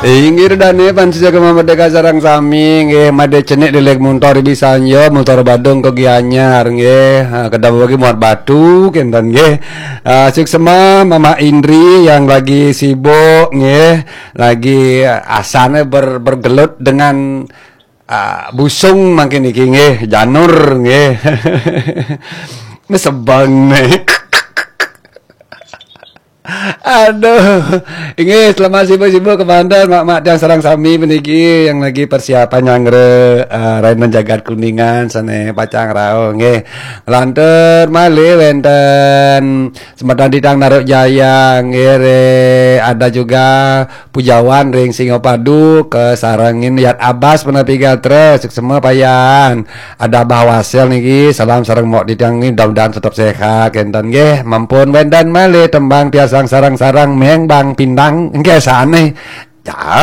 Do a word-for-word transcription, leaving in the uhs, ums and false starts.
Inggih dane pan sida Gema Merdeka sareng sami nggih, made cenik deleg montor Bisanjo, montor Badung ke Gianyar nggih. Ha, kedamel bagi Muat Batu kenten nggih. Ah, suksma Mama Indri yang lagi sibuk nggih, lagi, ah, asane ber-, bergelut dengan, ah, busung mangkin niki nggih, janur nggih. Mesebang nih. Aduh, inggih selamat sibuk-sibuk kemanten mak-mak tiang sareng sami puniki yang lagi persiapan nyanggra, eh, Rainan Jagat Kuningan sane pacang rauh nggih. Lantur malih wenten semeton titiang Naruk Jaya nggih, re-, ada juga Pujawan ring Singapadu kesarengin Yat Abas punapi gatra, suksma payan. Ada Bah Wasil niki, salam sareng mok titiang niki, mudah-mudahan tetep sehat kenten nggih. Mampun wenten malih tembang tiasang sareng-sareng meng Bang Pindang nggih sane. Ya.